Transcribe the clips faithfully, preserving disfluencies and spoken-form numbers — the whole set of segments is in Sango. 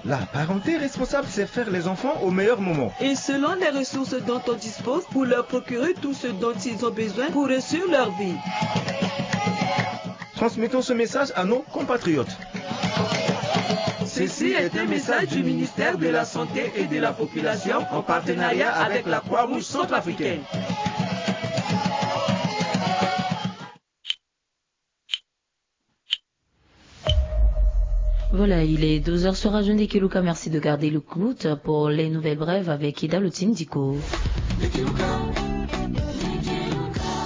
La parenté responsable, c'est faire les enfants au meilleur moment. Et selon les ressources dont on dispose, pour leur procurer tout ce dont ils ont besoin pour réussir leur vie. Transmettons ce message à nos compatriotes. Ceci est un message du ministère de la Santé et de la Population en partenariat avec la Croix-Rouge centrafricaine. Voilà, il est douze heures sur Radio Ndeke Luka. Merci de garder l'écoute pour les nouvelles brèves avec Ida Lutindiko.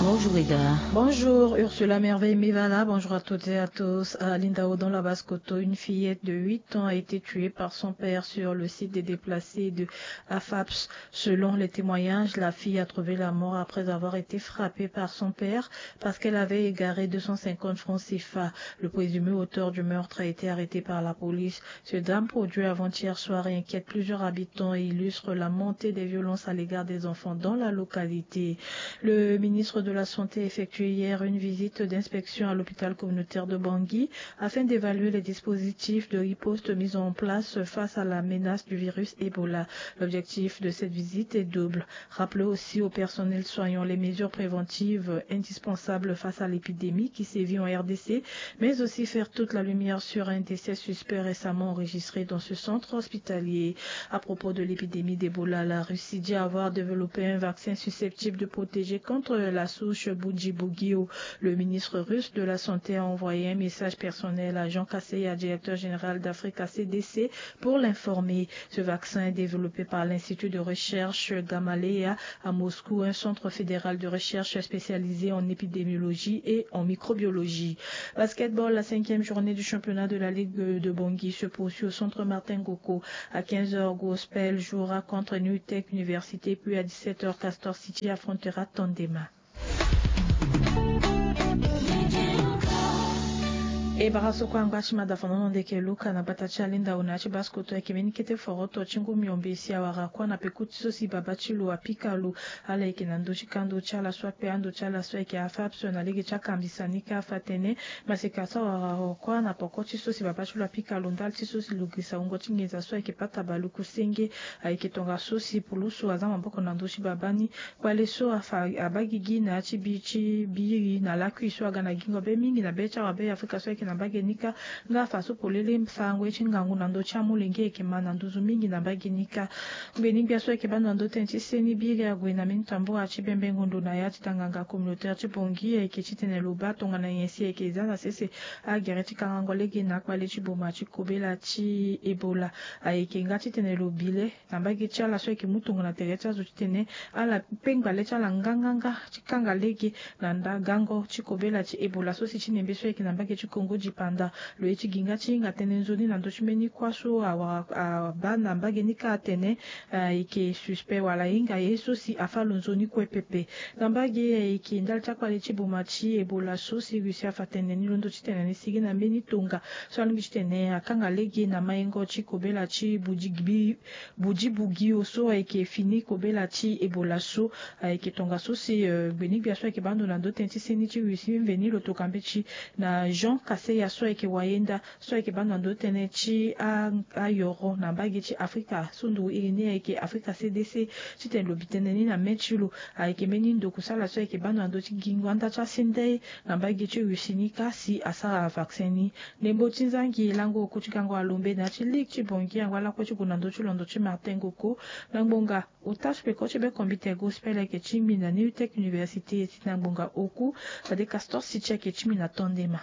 Bonjour Ida. Bonjour Ursula Merveille Mivala, bonjour à toutes et à tous. À Lindao, dans la Basse-Kotto, une fillette de huit ans a été tuée par son père sur le site des déplacés de Afaps. Selon les témoignages, la fille a trouvé la mort après avoir été frappée par son père parce qu'elle avait égaré deux cent cinquante francs C F A. Le présumé auteur du meurtre a été arrêté par la police. Ce drame produit avant-hier soir inquiète plusieurs habitants et illustre la montée des violences à l'égard des enfants dans la localité. Le ministre de la Santé effectue hier une visite d'inspection à l'hôpital communautaire de Bangui afin d'évaluer les dispositifs de riposte mis en place face à la menace du virus Ebola. L'objectif de cette visite est double. Rappeler aussi au personnel soignant les mesures préventives indispensables face à l'épidémie qui sévit en R D C, mais aussi faire toute la lumière sur un décès suspect récemment enregistré dans ce centre hospitalier. À propos de l'épidémie d'Ebola, la Russie dit avoir développé un vaccin susceptible de protéger contre la souche Bundibugyo. Le ministre russe de la Santé a envoyé un message personnel à Jean Kaseya, directeur général d'Africa C D C, pour l'informer. Ce vaccin est développé par l'Institut de recherche Gamaleya à Moscou, un centre fédéral de recherche spécialisé en épidémiologie et en microbiologie. Basketball, la cinquième journée du championnat de la Ligue de Bangui se poursuit au centre Martin Goko. À quinze heures, Gospel jouera contre New Tech Université, puis à dix-sept heures, Castor City affrontera Tandema. E bara so kue angba ti mada fanono ndeke luka na bata ti alinda ona ti baskoto ayeke mbeni kete foroto ti ngu miombe si awara kuâ na peko ti so si baba ti lo apika lo. Ala yeke na ndö ti kando ti ala so ape ando ti ala so ayeke afa ape so na lege ti akambisa ni ka afa tënë. Maseka so awara kuâ na poko ti so si baba ti lo apika lo ndali ti so si lo girisa wungo ti nginza so ayeke pata baluku senge. Ayeke tongaso si pulusu aza maboko na ndö ti baba ni. Kpale so afa abaa gigi na ya ti bi ti biri na lakui so aga na gingo be mingi na be ti awabe ya afrika so ayeke na mbage ni kâ. Nga afa so polele sarango ye ti ngangu na ndö ti amolenge ayeke ma na nduzu mingi na mbage ni kâ. Ngbeni gbia so ayeke baa ndo na ndö tënë ti seni biri ague na mbeni tambura ti bembengo ndo na ya ti tanganga communautaire ti bongi ayeke titene lo baa tongana nyen si ayeke za na sese agere ti kangango lege na akpale ti boma ti kobela ti ebola. Ayeke nga titene lo bi le na mbage ti ala so ayeke mu tongana tere ti azo titene ala pengba le ti ala nganganga ti kanga lege na nda gango ti kobela ti ebola so si ti nembe so ayeke na mbage ti kongo dipanda. Lo ye ti gi nga ti hinga tënë nzoni na ndö ti mbeni kuâ so awara abaa na mbage ni kâ atene ayeke suspect wala ahinga ye so si afa lo nzoni kue pepe. Na mbage ayeke ndali ti akpale ti boma ti ebola so si russie afa tene ni londo titene ni sigi na mbeni tonga so alingbi titene akanga lege na maingo ti kobela ti budi budi bugio so ayeke fini kobela ti ebola so. Ayeke tongaso si gbeni gbia so ayeke baa ndo na ndö tënë ti seni ti russie mveni lo toka mbeti na jean kaseya so ayeke wayenda so ayeke baa ndo na ndö tënë ti ayoro na mbage ti afrika so nduru iri ni ayeke afrika cdc. Titene lo bi tënë ni na mê ti lo ayeke mbeni ndokusala so ayeke baa ndo na ndö ti gingo anda ti asendei na mbage ti russie ni kâ si asara vaccin ni. Ndembo ti nzangi lango oku ti gango alombe na ya ti ligue ti bongi angba lakue ti gue na ndö ti londo ti martin goko. Na ngbonga ota ti peko ti be kombite gospel ayeke ti mbi na new tech université ti na ngbonga oku. Fade castor si ti ayeke ti mbi na tondema.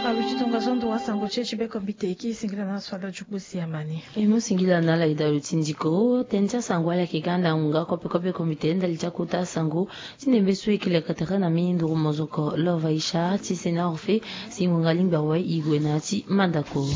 Aluti tongaso ndo wasango ti e ti be kombite e kiri singila na aso ala ti kpo si amani. E mu singila na ala e da luti ndiko tënë ti asango ala yeke ga ndangu nga kope kope kombite ndali ti akota asango. Ti nembe so e kiri leka tere na mbi nduru mozoko love aisha ti sena orphe. Si ngonga lingbi awe e gue na ya ti mandako.